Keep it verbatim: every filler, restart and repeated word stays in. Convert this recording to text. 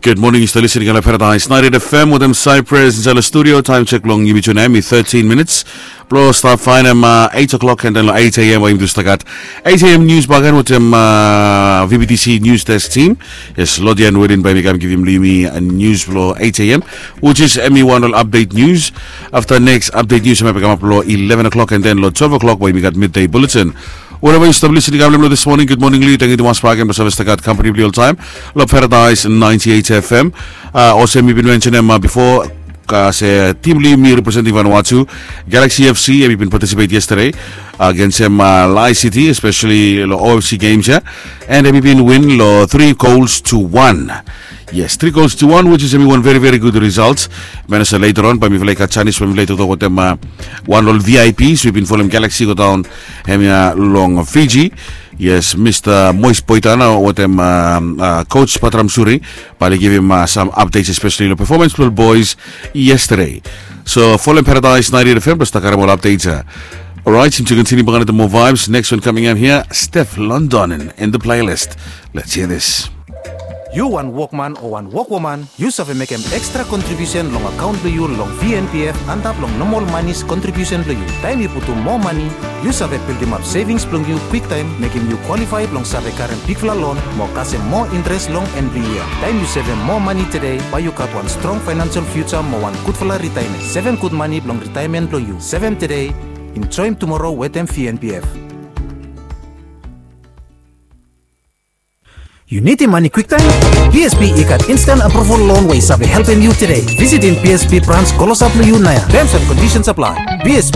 Gud moning, yu stap listening long Paradise ninety-eight F M wetem Cyprus insaed long studio. Taem sek blong yumi tu nao hem i thirteen minits blong stap faenem eight o'clock, and then long eight a.m. bae yumi tu stap gat eight a.m. nius bakegen wetem V B T C News Desk team. Yes, Lodian Wedin bae mi kam givim long yumi nius blong eight a.m., which is hem i wan ol update news. Afta next update news hem i bae kamap long eleven o'clock, and then long twelve o'clock bae yumi gat midday bulletin. Wherever yu stap listening long this morning, gud moning long yu. Tangkiu tumas bakegen blong save stap gat kampani blong yu oltaem long Paradise ninety-eight F M. Olsem mi bin mensenem bifo, se tim blong yumi representing Vanuatu, Galaxy F C, hem i bin participate yesterday agensem Lae City, especially long O F C games ya, and hem i bin win long three goals to one. Yes, three goals to one, which is hem i wan very, very good result. Manasa later on bae mifala i gat janis bae mifala i toktok wetem wan long ol V I Ps we bin folem Galaxy go daon hemia long Fiji. Yes, Mista Mois Boitana wetem Coach Patram Suri bae oli givim sam updates, especially long performance blong ol boys yesterday. So folem Paradise ninety-eight F M blong stap karem ol updates ya. Alright, yumi tu kontiniu bakegen wetem moa vibes. Next one coming up here, Steph London in the playlist. Let's hear this. Yu wan wokman o wan wokwoman, yu save mekem ekstra kontribiusen long akaon blong yu long V N P F antap long nomol manis kontribiusen blong yu. Taem yu putum moa mane, yu save bildimap sevings blong yu kwiktaem, mekem yu kwalifae blong save karem bigfala lon mo kasem moa intres long en blong yia. Taem yu sevem moa mane tede, bae yu gat wan strong faenansel fiuja mo wan gudfala ritaemen. Sevem gud mane blong ritaemen blong yu. Sevem tede, enjoem tumoro wetem V N P F. Yu nidim mane kwiktaem? B S P i gat instan apruval lon we i save helpem yu tede. Visitim B S P brans klosap long yu naoia. Terms and conditions apply. B S P